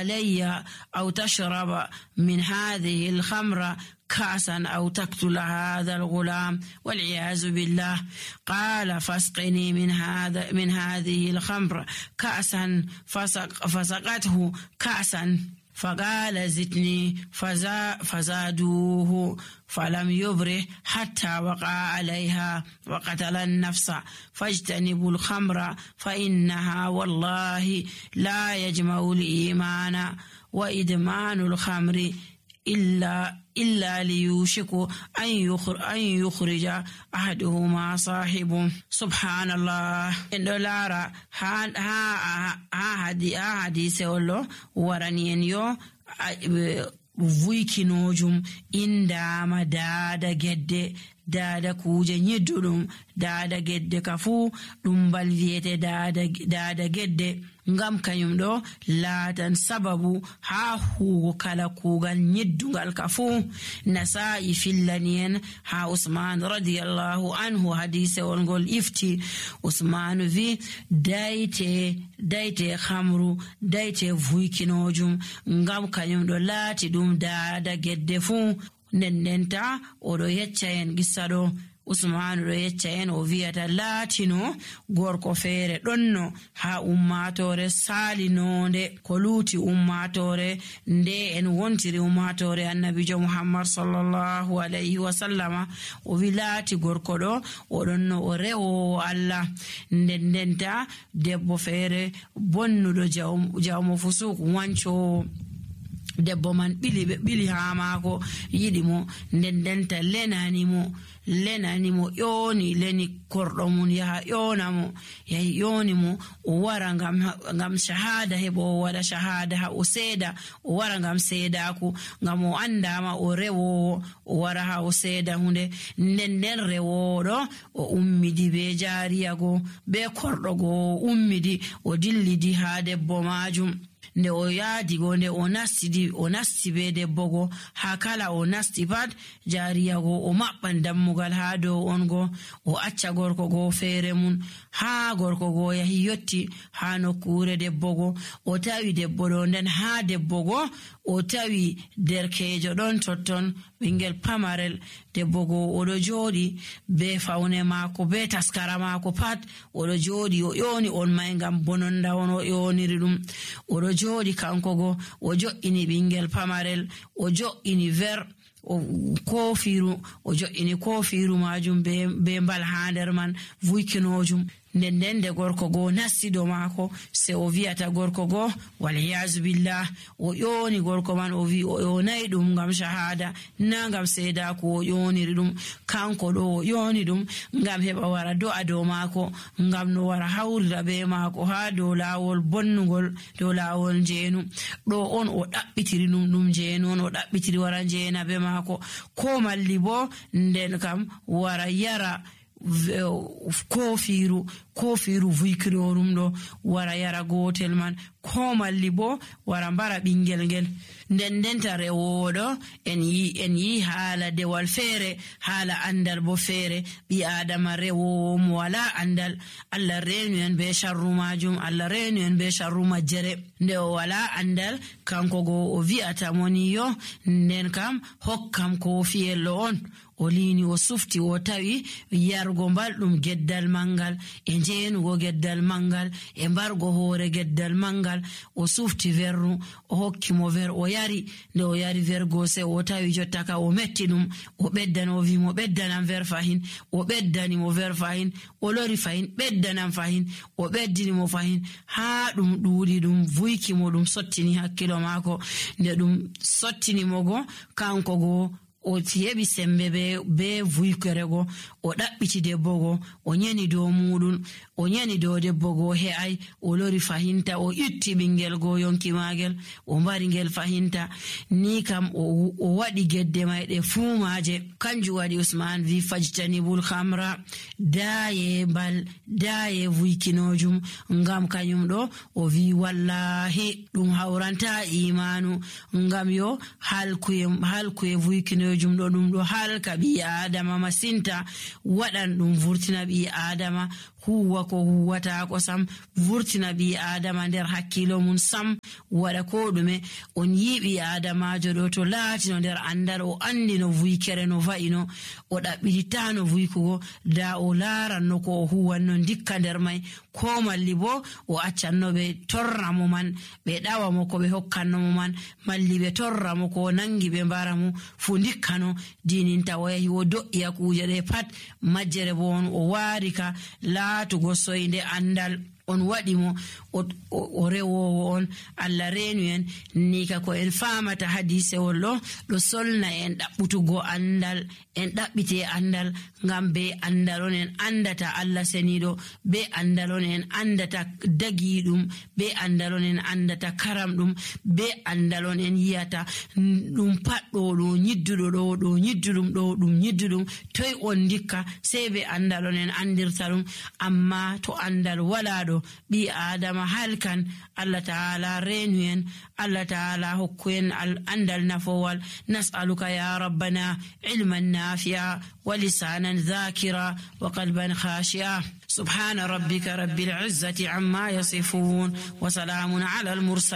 علي أو تشرب من هذه الخمر كأسا أو تقتل هذا الغلام والعياذ بالله. قال فاسقني من هذه الخمر كأسا فسقته كأسا فقال زدني فزادوه فلم يبره حتى وقع عليها وقتل النفس. فاجتنبوا الخمر فإنها والله لا يجمع الإيمان وإدمان الخمر إلا ليوشك أن يخرج أحدهما صاحبه. سبحان الله. إندولارا حديث ولو ورانين يو vuikinojum indama dada gedde dada kuje nyiddudum dada gedde kafu dum bal wiete dada gedde ngam kanyum do laatan sababu ha hugo kala kugal nyiddungal kafu. Nasa'i fillanien ha Usman radiyallahu anhu hadise wongol ifti. Usman vi daite khamru daite vuikinojum ngam kanyum do laati dum dada gedde fu. Nennenta odo yecca en gissado Usman do yecca en o wi'ata laatino gorko feere donno ha ummatore salinonde ko luuti ummatore nde en wontiri ummatore annabijo Muhammad sallallahu alayhi wa sallama o wi laati gorko do o donno o rewo Allah. Nennenta debbo feere bonnudo jawmo fusuk wanco debbo man bili ha maako yidi mo ndendenta lenani mo yoni leni kordo mun yaha yonamo yahi yoni mo o wara ngam shahada hebo wada shahada ha o seeda o wara ngam seedako ngam o andama o rewo o wara ha o seeda hunde nden rewodo o ummidi be jaariyago be kordo go ummidi o dillidi ha debbo majum. Nde o yaadi go nde o nasti be debbo go ha kala o nasti pat jaariya go o mabban dammugal ha dow on go o acca gorko go feere mun ha gorko go yahi yotti ha nokkure debbo go o tawi debbo do nden ha debbo go o tawi derkejo don totton bingel pamarel. Debbo go odo jodi be fawne maako be taskara maako pat odo jodi o yoni on may ngam bononda on o yoniri dum odo jodi kanko go o jo'ini bingel pamarel o jo'ini ver o kofiru o jo'ini kofiru majum be mbal ha nder man vuikinojum. Nden de gorko go nasido maako se o wi'ata gorko go wal yaz billah o yoni gorko man o wi o yonai dum ngam shahada na ngam seeda ko o yoniri dum kanko do o yoni dum ngam heba wara do'a do maako ngam no wara hawrira be maako ha do lawol bonnugol do lawol jeenu do on o dabbitiri dum jeenu on o dabbitiri wara jeena be maako ko malli bo nden kam wara yara kofiru vuikirorum do wara yara gotel man ko malli bo wara mbara bingel ngel. Ndendenta rewodo en yi haala dewal feere haala andal bo feere bi adama rewo mo wala andal Allah reenu en be sharru majum Allah reenu en be sharru majjere. Nde o wala andal kanko go o wi'ata moni yo nden kam hokkam ko fiyello on o lini o sufti o tawi yargo mbaldum geddal mangal e jeenugo geddal mangal e mbargo hoore geddal mangal o sufti verru o hokki mo ver o yari. Nde o yari vergo se o tawi jottaka o metti dum o beddano wi mo beddanam ver fahin o beddani mo ver fahin o lori fahin beddanam fahin o beddini mo fahin ha dum duudi dum vuiki mo dum sottini hakkilo maako. Nde dum sottini mo go kanko go o tiyebi sembe be vuikere go o dabbiti debbo go o nyeni do mudun o nyeni do debbo go he'ai o lori fahinta o itti bingel go yonki magel o mbari ngel fahinta ni kam o wadi gedde mayde fumaje. Kanju wadi Usman vi fajtanibul khamra daye vuikinojum ngam kanyum do o vi wallahi dum hawranta imanu ngam yo halkuye vuikinojum do dum do halka bi adama masinta wadan dum vurtina bi adama huwa ko huwata ko sam vurtina bi adama nder hakkilo mun sam wada ko dume on yibi adamajo do to laati no nder andal o andi no vuykere no va'ino o dabbita no vuykugo da o laranno ko huwanno dikka nder mai ko malli bo o accanno be torra mo man be dawa mo ko be hokkanno mo man malli be torra mo ko nangi be mbara mo fu dikkano dininta o yahi o do'iya kuje de pat majjere bo on o warika laatugo soyde andal on waɗi mo o rewowo on. Allah reenu en ni ka ko en famata hadisewol ɗo solna en ɗaɓɓutugo andal en ɗaɓɓite andal ngam be andal on en andata Allah seniɗo be andal on en andata dagiɗum be andal on en andata karam ɗum be andal on en yiyata ɗum patɗo ɗo nyidduɗo ɗo nyidduɗum ɗo ɗum nyidduɗum toy on dikka sei be andal on en andirta ɗum. Amma to andal wala ɗo bi adama halkan. Allah ta'ala reenu en, Allah ta'ala hokku en andal nafowal. Nas'aluka ya rabbana ilman nafi'a wa lisanan dhakira wa qalban khashi'a. Subhana rabbika rabbil izzati amma yasifun wa salamun ala al mursalin.